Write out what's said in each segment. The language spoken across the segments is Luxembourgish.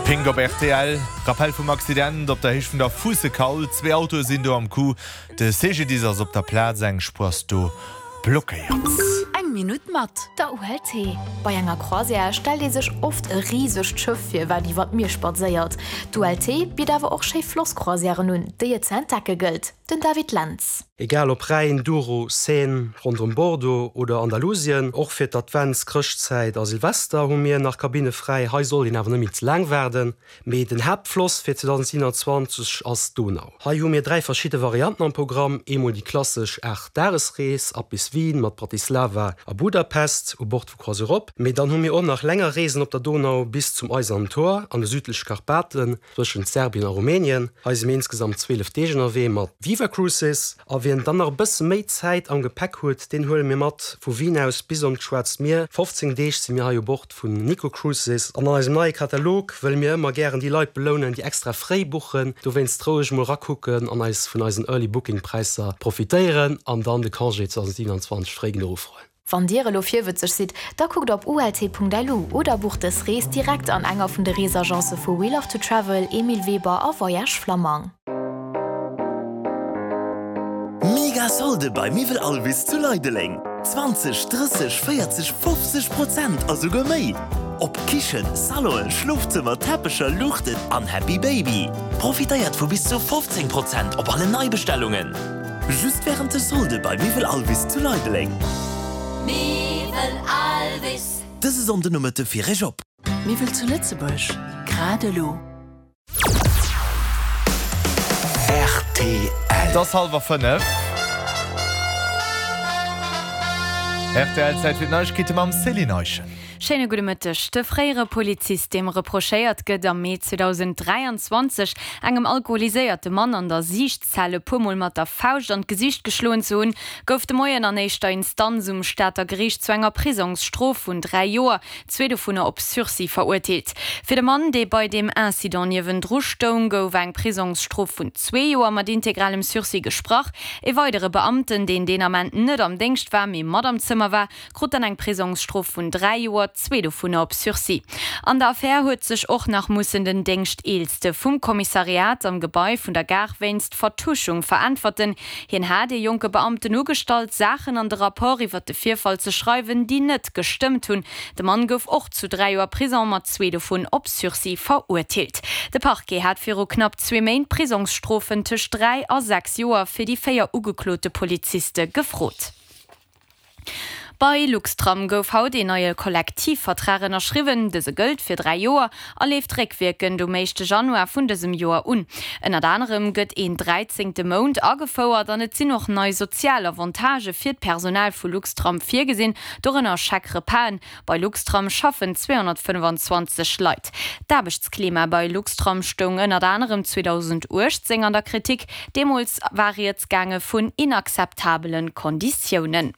Pink op rtl. Rappell vum Accident op der Héicht vun der Fuussekaul. Zwee Autoe sinn do am Coup. De CGDIS ass op der Plaz, eng Spuer ass do blockéiert. Eng Minutt mat der ULT. Bei enger Croisière stellt ee sech oft e risegt Schëff vir, wat iwwer d'Mier spadséiert. D'ULT bitt awer och schéi Flosscroisièren un, déi et ze entdecke gëllt. Den David Lentz. Egal ob Rhäin, Douro, Seine, ronderëm Bordeaux oder Andalusien, och fir d'Advents-, Chrëschtzäit a Silvester hu mir nach Kabinne fräi. Hei sollt een awer net méi ze laang waarden. Mee den Haaptfloss fir 2027 ass d'Donau. Hei hu mir 3 verschidde Varianten am Programm, eemol déi klassesch 8 Dagesrees ab bis Wien mat Bratislava a Budapest u Bord vu CroisiEurope. Mee dann hu mir och nach länger Reesen op der Donau bis zum Eisernen Tor an de südleche Karpaten zwëschent Serbien a Rumänien. Hei si mir insgesamt 12 Deeg ënnerwee mat Viva Cruises. A wien dann nach e bësse méi Zäit am Gepäck huet, deen huele mir mat vu Wien aus bis an d'Schwaarzt Mier. 15 Deeg si mir hei u Bord vun Nico Cruises. An an eisem neie Katalog wëlle mir ëmmer gären déi Leit belounen, déi extra fréi buchen. Dowéinst roueg mol rakucken an eis vun eisen Early Booking Präisser profitéieren an dann de Congé 2027 fréi genuch ufroen. Wann Dir elo virwëtzeg sidd, da kuckt op ult.lu oder bucht dës Rees direkt an enger vun de Reesagence vu We Love to Travel, Emile Weber a Voyage Flammang. Mega Solde bei Miwwel Alvis zu Leideleng! 20, 30, 40, 50 Prozent a souguer méi! Op Kichen, Salonen, Schlofzëmmer, Teppecher, Luuchten an Happy Baby. Profitéiert vu bis zu 15 Prozent op alle Neibestellungen! Just wärend de Solde bei Miwwel Alvis zu Leideleng. Miwwel Alvis. Dëse Sonnden Nomëtte fir Iech op. Miwwel zu Lëtzebuerg, grad elo. Rtl. Et ass hallwer 5. Rtl, Zäit fir d'Neiegkeete mam Céline Eischen. Schéine gudde Mëtteg. De fréiere Polizist, deem reprochéiert gëtt, am Mee 2023 engem alkoholiséierte Mann an der Siichtzell e puer Mol mat der Fauscht an d'Gesiicht geschloen ze hunn, gouf de Moien an éischter Instanz um Stater Geriicht zu enger Prisongsstrof vun 3 Joer, zwee dovunner op Sursis, verurteelt. Fir de Mann, dee bei deem Incident niewendru stoung, gouf eng Prisongsstrof vun zwee Joer mat integralem Sursis gesprach. E weidere Beamten, deen deen Ament net am Déngscht war, mee mat am Zëmmer war, krut dann eng Prisongsstrof vun 3 Joer, zwee dovunner op Sursis. An der Affär huet sech och nach mussen den Déngschteelste vum Kommissariat am Gebai vun der Gare wéinst Vertuschung veräntwerten. Hien hat ee jonke Beamten ugestallt, Saachen an de Rapport iwwert de Virfall ze schreiwen, déi net gestëmmt hunn. De Mann gouf och zu 3 Joer Prison, mat zwee dovun op Sursis verurteelt. De Parquet hat viru knapp zwee Méint Prisongsstrofen tëscht 3 a 6 Joer fir déi 4 ugeklote Poliziste gefrot. Bei Luxtram gouf haut een neie Kollektivvertrag ënnerschriwwen. Dëse gëllt fir 3 Joer a leeft réckwierkend um éischte Januar vun dësem Joer un. Ënnert anerem gëtt een dräizéngte Mount agefouert an et sinn och nei sozial Avantagë fir d'Personal vu Luxtram virgesinn, dorënner Chèque-repasen. Bei Luxtram schaffen 225 Leit. D'Aarbechtsklima bei Luxtram stoung ënnert anerem 2018 an der Kritik. Deemools war rieds gaange vun inakzeptabele Konditiounen.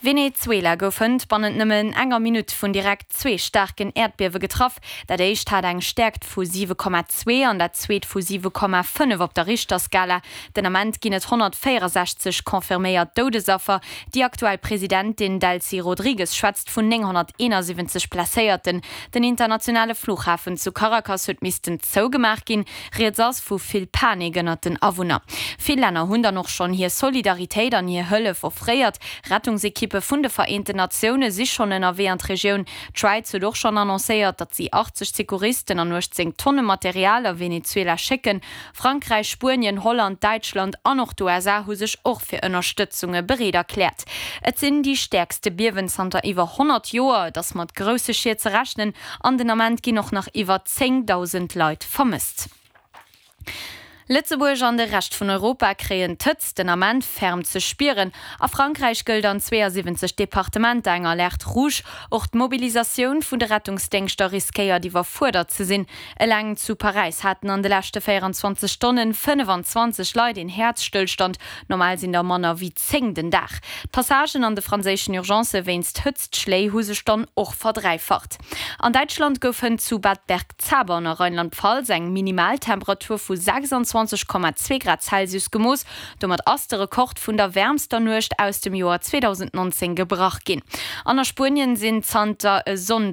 Venezuela gouf hënt bannent nëmmen enger Minutt vun direkt zwee staarken Äerdbiewe getraff. Dat éischt hat eng Stäerkt vu 7,2 an dat zweet vu 7,5 op der Richterskala. Den Ament ginn et 164 confirméiert Doudesaffer. Déi aktuell Presidentin Delcy Rodrigues schwätzt vun 971 Blesséierten. Den internationale Flughafen zu Caracas huet missten zougemaach ginn. Rieds ass vu vill Panik ënnert den Awunner. Vill Länner hunn dann och schonn hir Solidaritéit an hir Hëllef offréiert. Rettungsekippe vun de Vereenten Natioune si schonn ënnerwee an d'Regioun. D'Schwäiz huet och schonn annoncéiert, datt si 80 Secouristen an 18 Tonne Material a Venezuela schécken. Frankräich, Spuenien, Holland, Däitschland an och d'USA hu sech och fir Ënnerstëtzunge bereet erkläert. Et sinn déi stäerkste Biewen zanter iwwer 100 Joer. Et ass mat grousse Schied ze rechnen an den Ament ginn och nach iwwer 10.000 Leit vermësst. Lëtzebuerg an de Rescht vun Europa kréien d'Hëtzt den Ament ferm ze spieren. A Frankräich gëllt an 72 Departementer eng Alerte rouge. Och d'Mobilisatioun vun de Rettungsdéngschter riskéiert iwwerfuerdert ze sinn. Eleng zu Paräis haten an de leschte 24 Stonnen 25 Leit een Häerzstëllstand. Normal sinn der manner wéi 10 den Dag. D'Passagen an de franséischen Urgencë wéinst Hëtztschléi hu sech dann och verdräifacht. An Däitschland gouf hënt zu Bad Bergzabern a Rheinland-Pfalz eng Minimaltemperatur vu 26,2 Grad Celsius gemooss. Domat ass de Rekord vun der wäermster Nuecht aus dem Joer 2019 gebrach ginn. An a Spuenien sinn zanter e Sonndeg.